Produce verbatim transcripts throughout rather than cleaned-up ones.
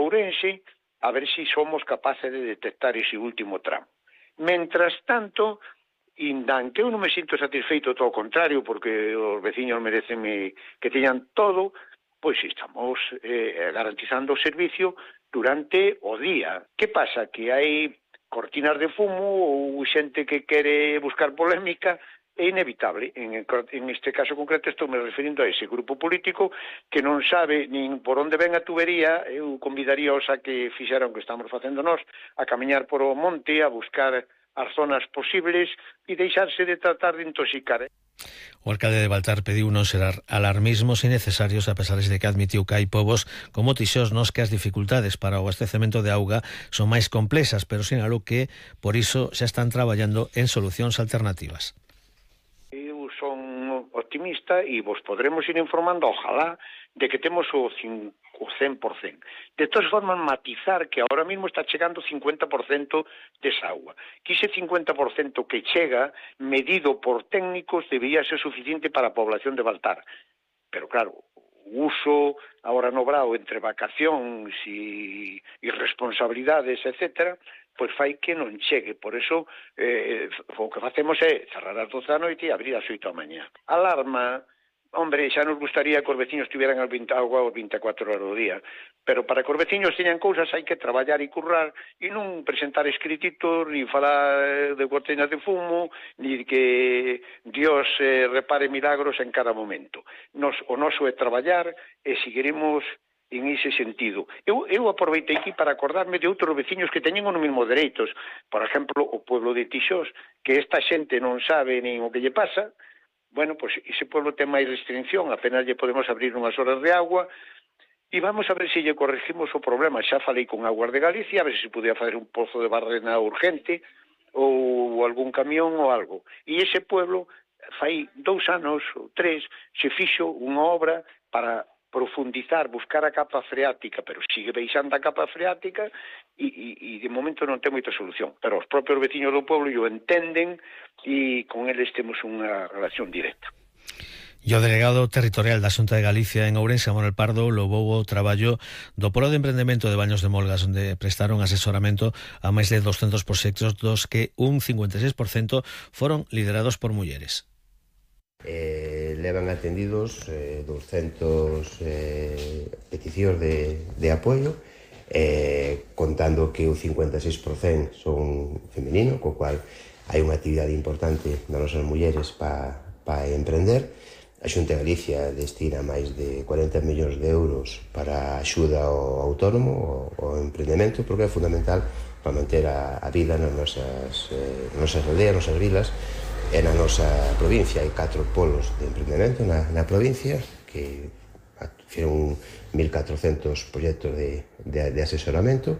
Ourense, a ver se somos capaces de detectar ese último tramo. Mentras tanto, indan que eu non me sinto satisfeito, todo o contrario, porque os veciños merecen que teñan todo, pois estamos eh, garantizando o servicio durante o día. Que pasa? Que hai cortinas de fumo ou xente que quere buscar polémica. É inevitable. En, en este caso concreto estou me referindo a ese grupo político que non sabe nin por onde ven a tubería. Eu convidaríaos a que fixeran o que estamos facendo nós, a camiñar por o monte, a buscar as zonas posibles e deixarse de tratar de intoxicar. O alcalde de Baltar pediu non ser alarmismos innecesarios, a pesar de que admitiu que hai povos como Tixós nos que as dificultades para o abastecemento de auga son máis complexas, pero sinalou que por iso xa están traballando en solucións alternativas. Eu son optimista e vos podremos ir informando, ojalá, de que temos o cen por cento. De todas formas, matizar que ahora mismo está chegando o cincuenta por cento desa agua. Que ese cincuenta por cento que chega, medido por técnicos, debería ser suficiente para a población de Baltar. Pero claro, o uso ahora no brao entre vacacións e irresponsabilidades, etcétera, pois fai que non chegue. Por eso, eh, o que facemos é cerrar as doce da noite e abrir as oito da mañá. Alarma, hombre, xa nos gustaría que os veciños tiveran agua as vinte e catro horas do día, pero para que os veciños teñan cousas hai que traballar e currar e non presentar escrititos, ni falar de cortinas de fumo, ni que Dios eh, repare milagros en cada momento. Nos, o noso é traballar e seguiremos en ese sentido. Eu, eu aproveitei aquí para acordarme de outros veciños que teñen os mesmos dereitos. Por exemplo, o pueblo de Tixós, que esta xente non sabe nin o que lle pasa. Bueno, pois ese pueblo ten máis restricción, apenas lle podemos abrir unhas horas de agua, e vamos a ver se lle corregimos o problema. Xa falei con Aguas de Galicia, a ver se podía fazer un pozo de barrena urgente, ou algún camión ou algo. E ese pueblo, fai dous anos ou tres, se fixo unha obra para profundizar, buscar a capa freática, pero sigue baixando a capa freática e, e, e de momento non ten moita solución. Pero os propios veciños do pueblo o entenden e con eles temos unha relación directa. E o delegado territorial da Xunta de Galicia en Ourense, Manuel Pardo, louvou o traballo do Polo de Emprendemento de Baños de Molgas, onde prestaron asesoramento a máis de doscentos proxectos, dos que un cincuenta e seis por cento foron liderados por mulleres. Eh, levan atendidos eh, doscientas eh, peticións de, de apoio, eh, contando que o cincuenta e seis por cento son femenino, co cual hai unha actividade importante das nosas mulleres para pa emprender. A Xunta de Galicia destina máis de cuarenta millóns de euros para axuda ao autónomo, ao, ao emprendemento, porque é fundamental para manter a, a vida nas nosas, eh, nosas aldeas, nosas vilas. E na nosa provincia hai catro polos de emprendemento na, na provincia que fizeron mil catrocentos proxectos de, de, de asesoramento,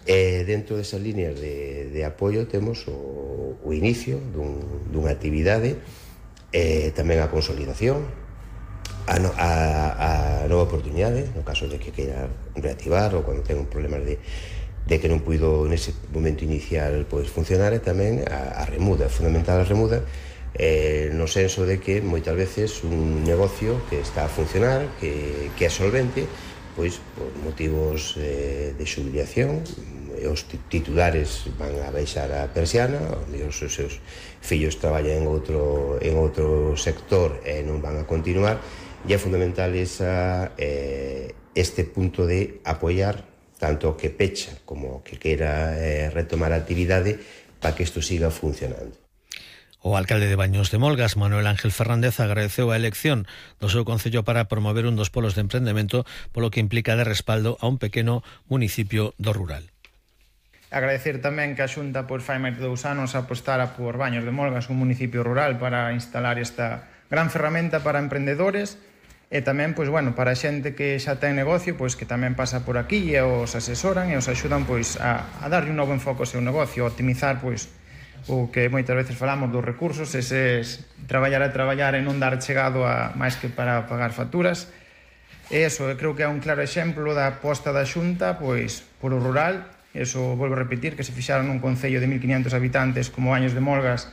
e dentro desas líneas de, de apoio temos o, o inicio dun, dunha actividade, e tamén a consolidación, a, no, a, a nova oportunidade no caso de que queira reactivar ou cando ten un problema de de que non puido nese momento inicial pois funcionar, e tamén a, a remuda, fundamental a remuda, eh, no senso de que moitas veces un negocio que está a funcionar, que, que é solvente, pois por motivos eh, de xubilación, os titulares van a baixar a persiana, onde os seus fillos traballan en outro, en outro sector e non van a continuar, e é fundamental esa, eh, este punto de apoiar tanto o que pecha como o que queira eh, retomar a actividade para que isto siga funcionando. O alcalde de Baños de Molgas, Manuel Ángel Fernández, agradeceu a elección do seu concello para promover un dos polos de emprendemento, polo que implica de respaldo a un pequeno municipio do rural. Agradecer tamén que a Xunta pois, fai máis de dous anos apostara por Baños de Molgas, un municipio rural, para instalar esta gran ferramenta para emprendedores. E tamén, pois, bueno, para a xente que xa ten negocio, pois que tamén pasa por aquí e os asesoran e os axudan pois a, a darlle un novo enfoque ao seu negocio, a optimizar pois o que moitas veces falamos dos recursos, eses traballar a traballar e non dar chegado a máis que para pagar facturas. E eso, eu creo que é un claro exemplo da aposta da Xunta pois por o rural. Eso, volvo a repetir, que se fixaron un concello de mil quinientos habitantes como Baños de Molgas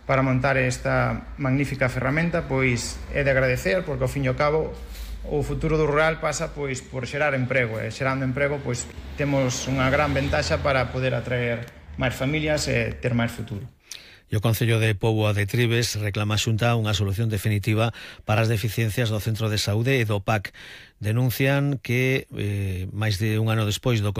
para montar esta magnífica ferramenta, pois é de agradecer, porque ao fin e ao cabo o futuro do rural pasa pois por xerar emprego, e xerando emprego pois temos unha gran ventaxa para poder atraer máis familias e ter máis futuro. E o Concello de Póvoa de Trives reclama a Xunta unha solución definitiva para as deficiencias do Centro de Saúde e do P A C. Denuncian que, eh, máis de un ano despois do